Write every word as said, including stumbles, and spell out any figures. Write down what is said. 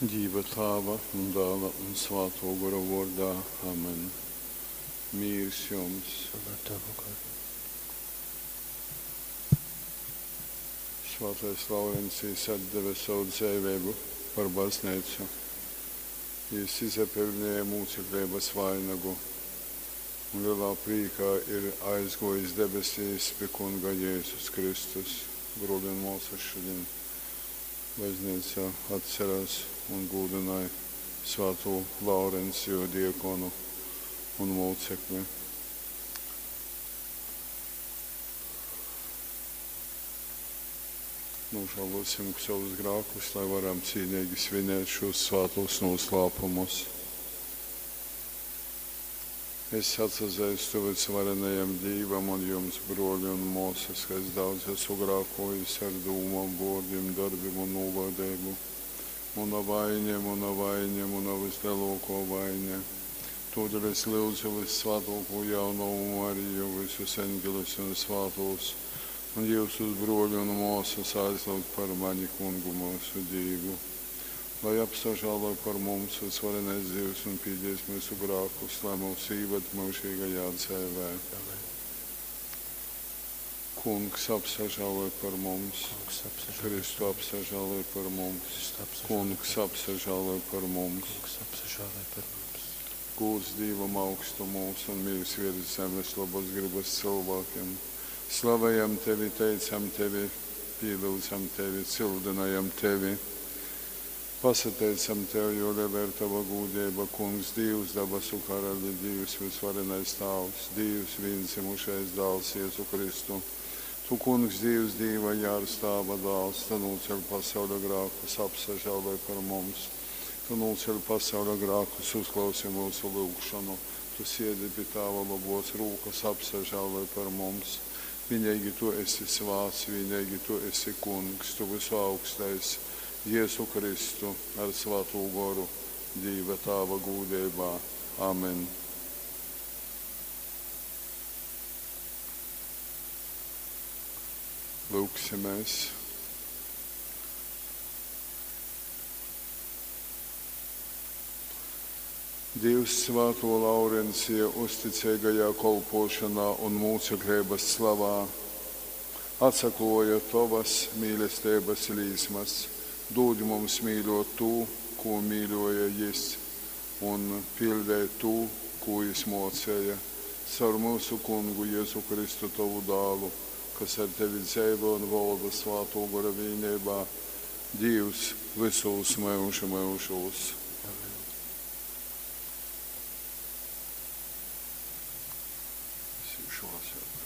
Dīva Tāva un Dāla un Svātō Gora vōrdā. Amen. Mīrs jums! Un ar tavu garu. Svātais Laurencijs atdeve savu dzeiveibu par bazneicu. Jys izapeļnēja mūcekleibas vainagu un lelā prīkā ir aizgōjis debesīs pi Kunga Jēzus Kristus. Brōli un mōsas, šodien bazneica atcerās un gūdynoj svātū Laurenciju diakonu un mūcekli. Nožēlosim savus grēkus, lai varam cīnīgi svinēt šos svātos noslēpumus. Es atsazeistu vysvarenajam Dīvam un jums, brōļi un mōsas, ka es daudz esmu grēkojis ar dūmām, vōrdim, darbim un nūlōdeibu. Muna vaine, muna vaine, muna vislielākā vaine. Tūdēļ es lūdzu vissvātāko jaunavu Mariju, visus eņģeļus un svātos, un jūsus brōļi un mōsas aizlūgt par mani Kungu mūsu Dīvu. Lai apsažāloj par mums vysvarenais Dievs un pīdies mūsu grēkus, lai mūs īved mūžīgajā dzīvē. Amen. Kungs apsažāloj par mums, Kungs apsažāloj. Kristu apsažāloj par mums, Kristu apsažāloj. Kungs apsažāloj par mums. Kungs apsažāloj par mums. Gūds Dīvam augstumūs un mīrs virs zemes labas gribas cilvēkiem. Slavējam tevi, teicam tevi, pielūdzam tevi, cildinājam tevi. Pasateicam tev, jo liela ir tava gūdība, Kungs, Dievs, dabasu karaļi, Dievs, visvarenais Tāvs, Dievs, viendzimušais dāls Jēzu Kristu. Tu, Kungs, Dievs, Dieva jārs, Tāva dāls, tu nocēl pasaules grēkus, apsažāloj par mums. Tu nocēl pasaules grēkus, uzklausi mūsu lūgšanu. Tu siedi pie Tāva labos rūkas, apsažāloj par mums. Vienīgi tu esi svāts, vienīgi tu esi Kungs, tu visu augstais. Jēzu Kristu ar Svāto Goru, Dieva Tāva gūdībā. Amen. Lūksimies. Dievs Svāto Laurencija uzticīgajā kolpošanā un mūceklības slavā atsakloja tavas mīlestības līsmas. Dod mums mīļot to, ko mīļoja jis, un pildēt to, ko jis mocēja. Caur mūsu kungu Jēzu Kristu tavu dālu, kas ar tevi dzīvo un valda svāto gora vienībā, Dievs visos mūžu mūžos. Amen. Es īšu lasīt.